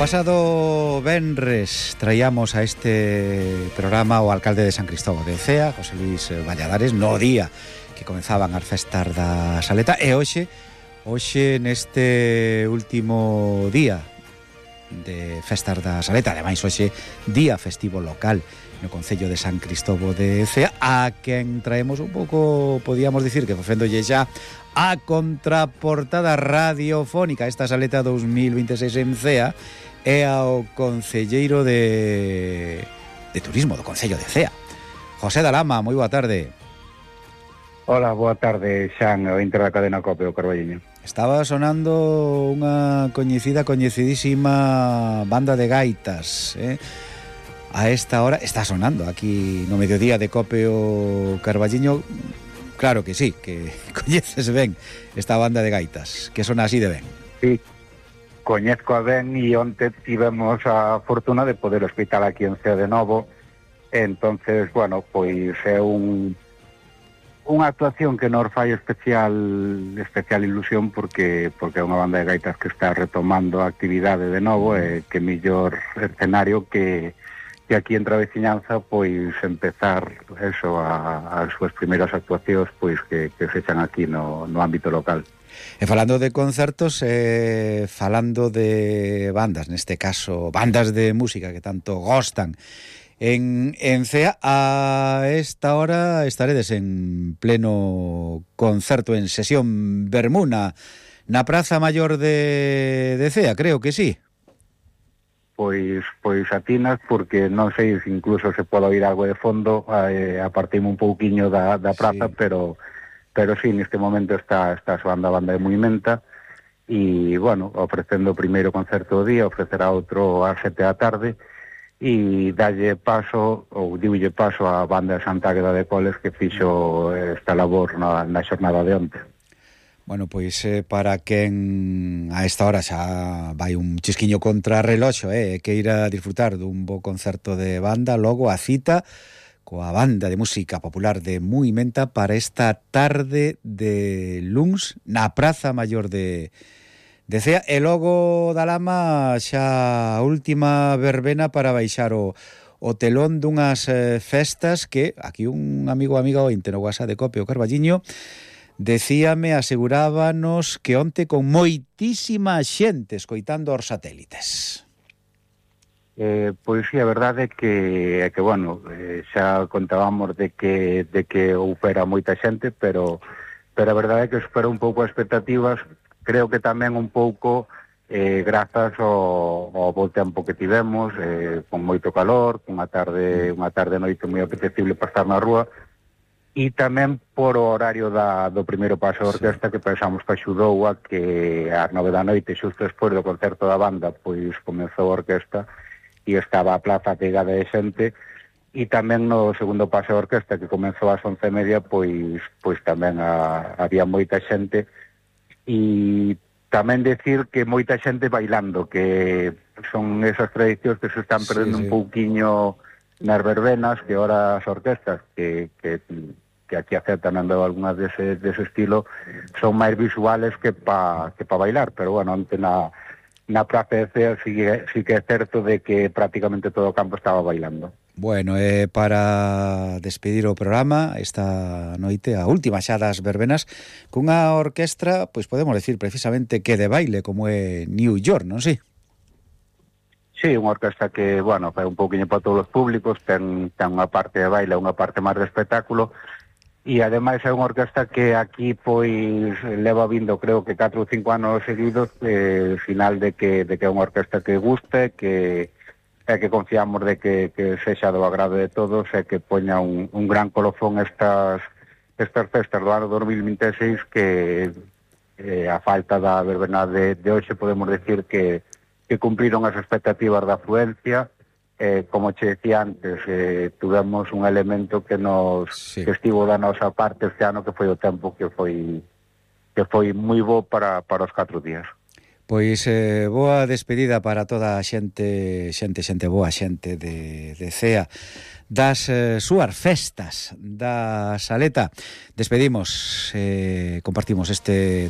pasado venres traíamos a este programa o alcalde de San Cristóbal de Cea, José Luis Valladares, no día que comenzaban as festas da Saleta, e hoxe neste último día de festas da Saleta, ademais hoxe día festivo local no concello de San Cristóbal de Cea, a quen traemos un pouco, podíamos dicir que facéndolle xa a contraportada radiofónica esta Saleta 2026 en Cea, e ao concelleiro de turismo do concello de Cea, José Dalama. Moi boa tarde. Hola, boa tarde, Xan, o inter da cadena COPE, o Carballiño. Estaba sonando unha coñecidísima banda de gaitas, a esta hora está sonando aquí no mediodía de COPE o Carballiño. Claro que sí, que coñeces ben esta banda de gaitas, que son así de ben. Sí, coñezco a ben e onte tivemos a fortuna de poder hospital aquí en Cea de novo. Entonces, bueno, pois é unha actuación que nos fai especial ilusión porque é unha banda de gaitas que está retomando a actividade de novo, e que mellor escenario que aquí entre a veciñanza, pois empezar eso, as súas primeiras actuacións, pois que se echan aquí no ámbito local. E falando de concertos, falando de bandas, neste caso bandas de música que tanto gostan en Cea, a esta hora estaredes en pleno concerto, en sesión Bermuna na Praza Maior de Cea, creo que sí. Pois atinas, porque non sei se incluso se pode oír algo de fondo, aparteime un pouquiño da praza, sí. pero sí, neste momento está soando a banda de Movimenta, e, bueno, ofrecendo o primeiro concerto do día, ofrecerá outro ás 7 da tarde, e diulle paso a banda de Santa Águeda de Coles, que fixo esta labor na xornada de onte. Bueno, pois para quen a esta hora xa vai un chisquiño contra reloxo, que ir a disfrutar dun bo concerto de banda, logo a cita coa banda de música popular de Movimenta para esta tarde de luns na Praza Maior de Cea, e logo Dalama xa a última verbena para baixar o telón dunhas festas que aquí un amigo ointe no WhatsApp de COPE o Carballiño decíame, asegurábanos que onte con moitísima xente escoitando os satélites. Pois sí, a verdade é que bueno, xa contábamos de que houbera moita xente, pero a verdade é que superou un pouco as expectativas. Creo que tamén un pouco grazas ao bo tempo que tivemos, con moito calor, unha tarde noite moi apetecible para estar na rúa, e tamén por o horario do primeiro paso da orquesta, que pensamos que axudou a que ás 9 da noite, xusto despois do concerto da banda, pois comezou a orquesta e estaba a plaza pegada de xente, e tamén no segundo paso da orquesta, que comezou ás 11:30, pois tamén había moita xente, e tamén decir que moita xente bailando, que son esas tradicións que se están perdendo un pouquiño nas verbenas, que ora as orquestas que aquí aceptan andando algunhas dese estilo son máis visuales que pa bailar, pero bueno, onte na Praza de Cea sí que é certo de que prácticamente todo o campo estaba bailando. Bueno, para despedir o programa esta noite, a última xa das verbenas, cunha orquestra, pois podemos decir precisamente que de baile, como é New York, non si? Sí, unha orquesta que, bueno, fai un pouquiño para todos os públicos, ten unha parte de baile, unha parte máis de espectáculo, e ademais é unha orquesta que aquí pois leva vindo, creo que 4 ou 5 anos seguidos, final de que é unha orquesta que guste, que confiamos de que sexa do agrado de todos, e que poña un gran colofón estas festas do ano 2026, que a falta da verbena de hoxe podemos decir que cumpriron as expectativas da afluencia. Como che decía antes, tuvemos un elemento que que estivo da nosa parte este ano, que foi o tempo que foi moi bo para os 4 días. Pois boa despedida para toda a xente boa, xente de Cea, das súas festas da Saleta. Despedimos, compartimos este